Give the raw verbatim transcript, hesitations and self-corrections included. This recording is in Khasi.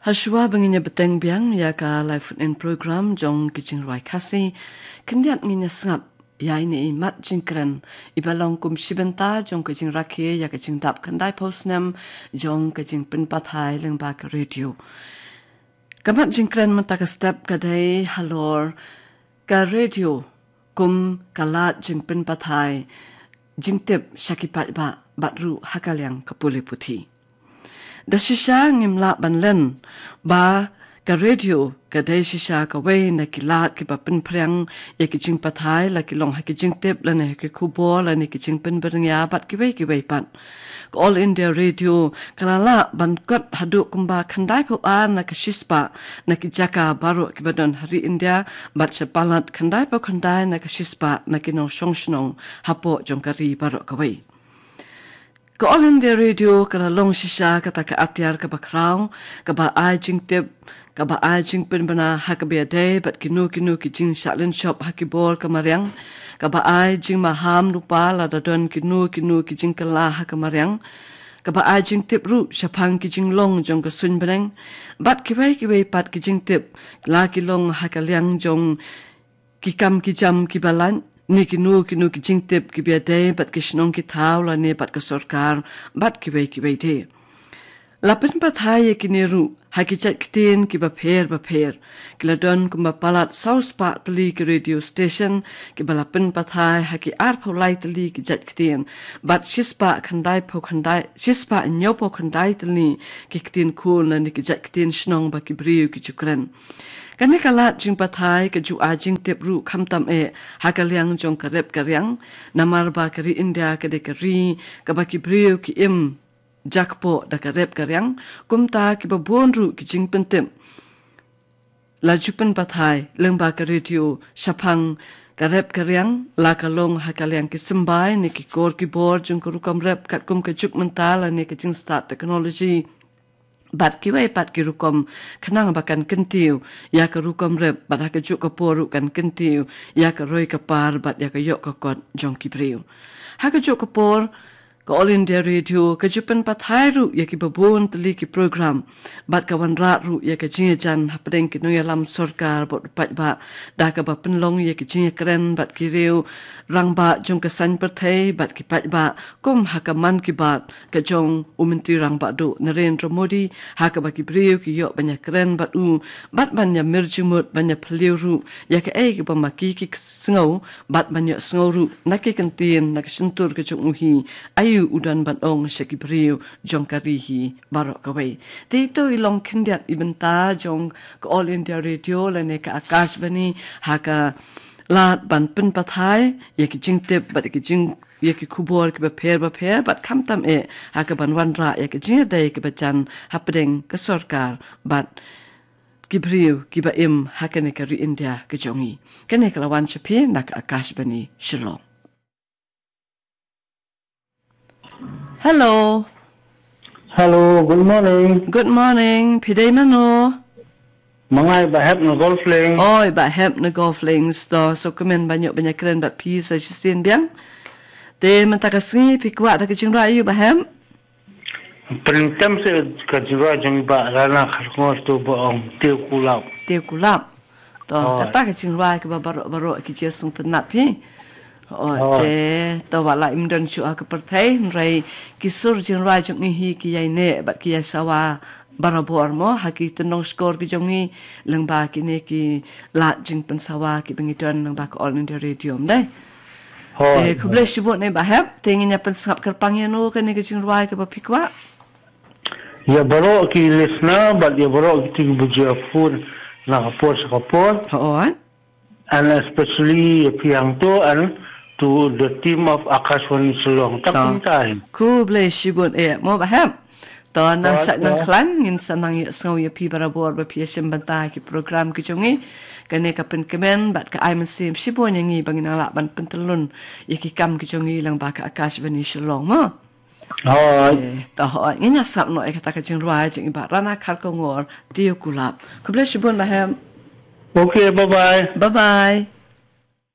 Hashwa ba ngin ïa bteng biang ïa ka live phone-in program jong ka jingrwai Khasi, khyndiat ngin ïa sngap ïa ine i mat jingkren iba long kum shi bynta jong ka jingrakhe ïa ka jingdap khyndai phew snem jong ka jingpynpathai lyngba ka radio. Ka mat jingkren mynta ka step ka dei halor ka radio kum ka lad jingpynpathai jingtip sha ki paidbah bad ruh ha ka liang ka pule puthi. Da shisha ngim lah ban len ba ka radio ka dei shisha kawei na ki lad kiba pynphriang ïa ki jingpathai, la ki long ha ki jingtip lane ha ki khubor lane ki jingpynbyrngia bad kiwei kiwei pat. Ka All India Radio ka la lah ban kot haduh kumba khyndai phew ar na ka shispah na ki jaka baroh kiba don ha ri India, bad sha palat khyndai phew khyndai na ka shispah na ki nongshong shnong hapoh jong ka ri baroh kawei. Ka All India Radio ka la long shisha kata ka atiar kaba khraw, kaba ai jingtip, kaba ai jingpynbna ha kaba ïadei bad kino kino ki jingshah lynshop ha ki bor ka mariang, kaba ai jingmaham lypa lada don kino kino ki jingkylla ha ka mariang, kaba ai jingtip ruh shaphang ki jinglong jong ka suiñ bneng, bad kiwei kiwei pat ki jingtip, la ki long ha ka liang jong ki kam ki jam kiba lait, ne kino kino ki jingtip kiba ïadei bad ki shnong ki thaw lane bad ka sorkar, bad kiwei kiwei de. La pynpathai ïa kine ruh ha ki jait ktien kiba pher bapher. Ki la don kumba palat saw spah tylli ki radio station kiba la pynpathai ha ki ar phew lai tylli ki jait ktien, bad shispah khyndai phew khyndai, shispah hynñiew phew khyndai tylli ki ktien khun lane ki jait ktien shnong ba ki briew ki ju kren. Kane ka lad jingpathai ka ju ai jingtip ruh khamtam eh ha ka liang jong ka rep ka riang, namar ba ka ri India ka dei ka ri kaba ki briew ki im jakpoh da ka rep ka riang, kumta kiba bun ruh ki jingpyntip la ju pynpathai lyngba ka radio shaphang ka rep ka riang, la ka long ha ka liang ki symbai ne ki kor ki bor jong ka rukom rep katkum ka juk mynta lane ka jingstad technology, bad kiwei pat ki rukom, khnang ba kan kyntiew ïa ka rukom rep, bad ha kajuh ka por ruh kan kyntiew ïa ka roi ka par bad ïa ka ïoh ka kot jong ki briew. Ha kajuh ka por, ka All India Radio ka ju pynpathai ruh ïa kiba bun tylli ki program, bad ka wanrah ruh ïa ka jingïajan hapdeng ki nongïalam sorkar bad u paidbah, da kaba pynlong ïa ka jingïakren bad ki riew rangbah jong ka saiñ pyrthei bad ki paidbah, kum ha ka Mann Ki Baat ka jong u Myntri Rangbah Duh Narendra Modi, ha kaba ki briew ki ïoh ban ïakren bad u, bad ban ïamir jingmut ban ïaphylliew ruh ïa kaei kaba ma ki ki sngew, bad ban ïohsngew ruh na ki kyntien na ka shyntur ka jong u hi, aïu u don ban ong sha ki briew jong ka ri hi baroh kawei. Te to i long khyndiat i bynta jong ka All India Radio lane ka Akashvani ha ka lad ban pynpathai ïa ki jingtip bad ïa ki jing ïa ki khubor kiba pher bapher, bad khamtam eh ha ka ban wanrah ïa ka jingïadei kaba jan hapdeng ka sorkar bad ki briew kiba im ha kane ka ri India ka jong ngi. Kane ka la wan sha phi na ka Akashvani Shillong. Hello. Hello, good morning. Good morning. Phi dei mano? Ma nga i Bah Hep na Golf Links. Oi, Bah Hep na Golf Links. To, sngewkmen ban ïoh ban ïakren bad phi sa shisien biang. Te mynta ka sngi phi kwah da ka jingrwai aïu, Bah Hep? Pynlong tem sa ka jingrwai jong i Bah Rana Kharkongor, to ba ong Tiew Kulap. Tiew Kulap. To, oh, kata ka jingrwai kaba baroh baroh ki jingsngewtynnat phi. Oh, oh, te to, wat la im don shuh ha ka pyrthei, hynrei ki sur jingrwai jong ngi hi ki ïai neh bad ki ïai sawa barabor mo ha ki tynnong shkor ki jong ngi, lyngba kine ki lad jingpynsawa kiba ngi don lyngba ka All India Radio, ym dei? Hooid. Te khublei shibun eh Bah Hep, te ngin ïa pynsngap kyrpang ïano kane ka jingrwai kaba phi kwah? Ïa baroh ki listener bad ïa baroh kito kiba ju ïa phone na ka por sha ka por. Hooid. And especially ïa phi hangto and to the team of Akashvani Shillong. Tang kumta hi. Khublei shibun eh mo Bah Hep. To, nang shait nang khlaiñ, ngin sa nang ïohsngew ïa phi barabor ba phi ïashim bynta ki program ki jong ngi. Kane ka pynkmen bad ka ai mynsiem shibun ïa ngi ba ngin nang lah ban pyntyllun ïa ki kam ki jong ngi lyngba ka Akashvani Shillong mo. Hooid. Eh, to hooid, ngin ïa sngap noh ïa kata ka jingrwai jong i Bah Rana Kharkongor, Tiew Kulap. Khublei shibun Bah Hep. Okay, bye bye. Bye bye.